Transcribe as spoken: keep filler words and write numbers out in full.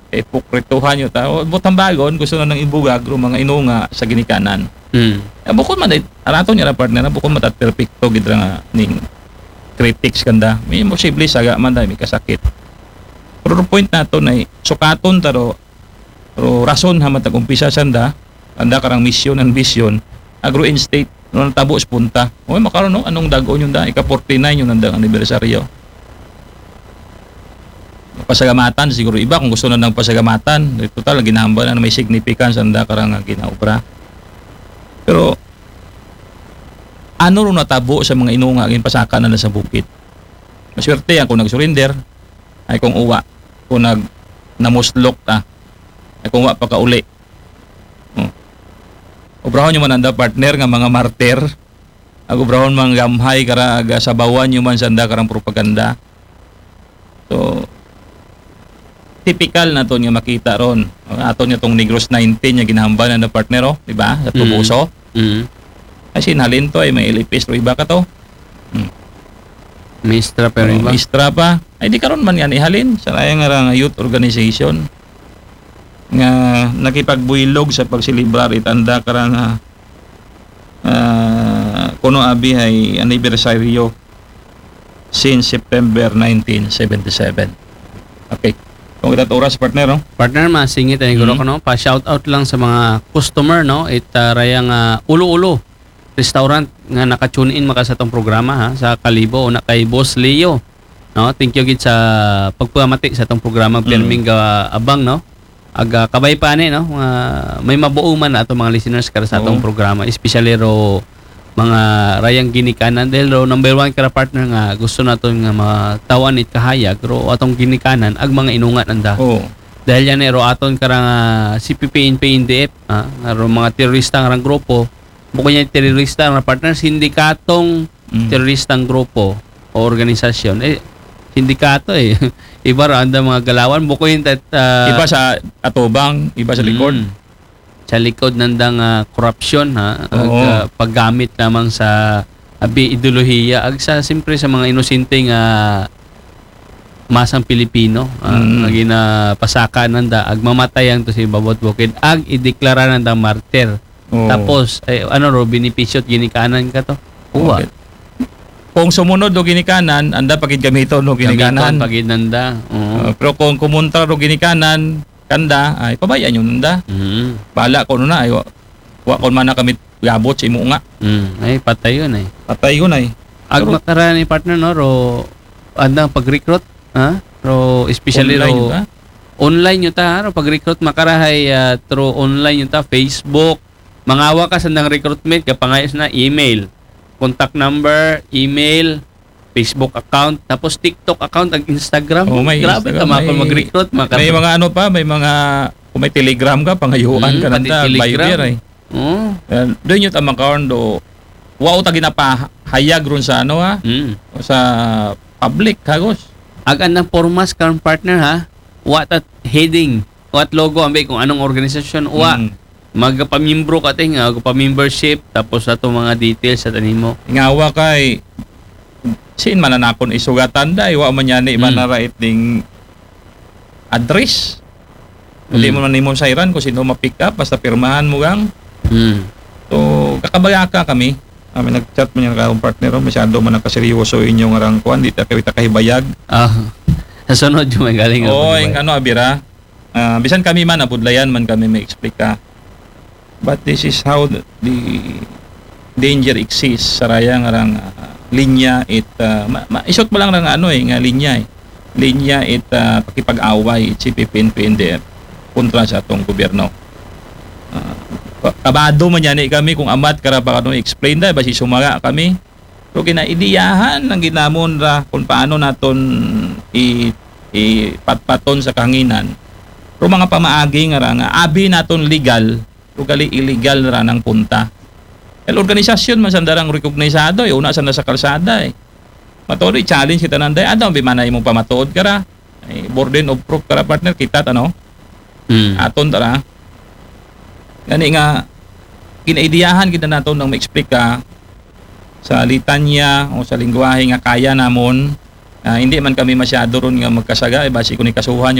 Hipokrituhan yun ta. O, butang bagon, gusto na nang ibugag ro mga inunga sa ginikanan. Mm. Eh, bukod man, eh, araton niya na, partner, na bukod matat perfecto gid ra nga ning critics kanda. May posible saga man dahil may kasakit. Pero the point nato na, eh, sukaton ta ro, ro rason ha matag umpisa sanda, anda karang mission and vision, agro-instate, no, natabo sa punta. O, makaron, no? Anong dagon yun da? Ika forty-nine yun ang anniversary, oh. Pasalamatan siguro iba kung gusto na nang pasalamatan. Total, ginahambal na may significance ang da karang nga ginaobra. Pero, ano ro natabo sa mga inunga, ginpasaka na lang sa bukid? Maswerte yan kung nag-surrender, ay kung uwa, kung nag-, namuslok ta, ay kung wa pa kauli. Hmm. Obrahon nyo man anda, partner, nga mga martir. Ag obrahon man gamhay kara, ag sabawan nyo man sanda karang propaganda. So, typical naton nga makita ron. Aton nga tong Negros nineteen nga ginahambal na, partner, oh, di ba? Sa Mm. Tubuso. Mm. Ay, sinhalin to, ay may L P S, pero iba ka to. Hmm. Mistra, pero Oh, iba. Mistra pa. Ay, di karon man yan ihalin. Sa raya nga ra nga youth organization nga nakipagbuylog sa pagselebrar itanda karang, ah, ah, kuno abi ay anibersaryo since September nineteen seventy-seven. Okay. Kung kita oras, partner, no? Partner, masingit ay guro Mhm. ko, no? Pa-shout out lang sa mga customer, no? It, ah, raya nga Ulo-Ulo Restaurant nga naka-tune in maka sa atong programa, ha, sa Kalibo, una kay Boss Leo, no? Thank you gid sa pagpamati sa atong programa, Mm. pirming ga-, abang, no? Ag, ah, kabay pa ni, no? Nga may mabuo man na atong mga listeners kara sa atong Oo. programa, especially ro mga rayang ginikanan, dahil ro number one kara, partner, nga gusto naton nga mataw-an it kahayag ro atong ginikanan ag mga inunga nanda. Oo. Dahil yan, eh, ro aton kara nga C P P, N P, N D F, ah, nga ro mga terorista nga rang grupo, bukod niya terorista nga, partner, sindikatong Mm. teroristang grupo o organisasyon. Eh, sindikato, eh. Iba ra anda mga galawan, bukod yung tat-, ah, Iba sa atubang, iba sa likod. Mm. Sa likod nandang, ah, korupsyon, ha? Ag, Oo. ah, paggamit lamang sa abi ideolohiya, ag sa, siyempre, sa mga inosente nga masang Pilipino, ah, Mm. nga ginapasaka nanda, ag mamatay ang to sa ibabaw bukid, ag ideklara nanda martir. Oo. Tapos, eh, ano ro, benepisyo at ginikanan ka to? Uwa. Okay. Kung sumunod o ginikanan, anda pa gid gamiton o ginikanan. Gamiton pa gid nanda. Oo. Uh, pero kung kumontra o ginikanan, kanda, ay, pabayaan yun nanda. Mm. Bala ko na, ay, wa, wa ko man na kami gabot sa imo nga. Mm. Ay, patay yun, eh. Patay yun, ay. Ag Pero makara ni, partner, no, ro, andang pag-recruit, ha? Ro, especially Online ro, yun, ha? Online yun ta, ha? Ro, pag-recruit, makarahay, ah, through online yun ta, Facebook. Mangawa ka sa nang recruitment, kapangayos na, email. Contact number, email, Facebook account, tapos TikTok account, ag Instagram. Oh, may Grabe Instagram, ka, mga may, mag-recruit, mga may ka- mga ano pa, may mga, kung may Telegram ka, pangayuan Mm, ka na pati ta, Telegram. Viber, eh. Oh. Eh, doon yung tamang kaon do, wa ta ginapahayag ron sa ano, ha? Mm. Sa public, hagos. Ag anang formas karon, partner, ha? Wa ta heading, wa ta logo, ambi kung anong organisasyon, wa. Mm. Magpamiyembro ka, ting, ah, pa-membership, tapos ato mga details sa tanimo. Ngawa kay, sin man na nakon isugatan, day, wa man yan, iba Mm. na right ding address. Hindi Mm. mo man nimo sayran kung sino ma-pick up, basta pirmahan mo gang. Mm. So, kakabayaka kami. Ah, may nag-chat man yung akong partner, oh, masyado man nakaseryoso inyong arang kuan, di ta kami takahibayag. Ah, sa sunod yung may galing ang Oo, paghibayag. Yung ano, abira. Ah, bisan kami man, nabudlayan man kami may explika. But this is how the, the danger exists. Saraya nga rang, ah, linya it, ah, ma, ma, isot pa lang nga ano eh, nga linya eh. Linya it, ah, pakipag-away, C P P, N P, N D F kontra sa atong gobyerno. Ah, pa, kabado man yan eh kami kung amat kara pa kanong explain da, basi sumaga kami. Pero ginaidiyahan ang ginamon ra kung paano naton i, ipatpaton sa kahanginan. Pero mga pamaagi nga ra nga abi naton legal, pero gali illegal ra nang punta. El organisasyon man sandarang recognisado, eh, una sa nasa kalsada, eh. Matuod, i-challenge kita nanday. Ano, bimana imong pamatuod ka ra? Ay, burden of proof ka ra, partner, kita ta, no? Mm. Aton ta ra. Gani nga, kinaidiyahan kita nato nang ma-explica sa litanya o sa lingwahe nga kaya namon. Ah, hindi man kami masyado ron nga magkasaga, eh, basi kung ikasuhan yung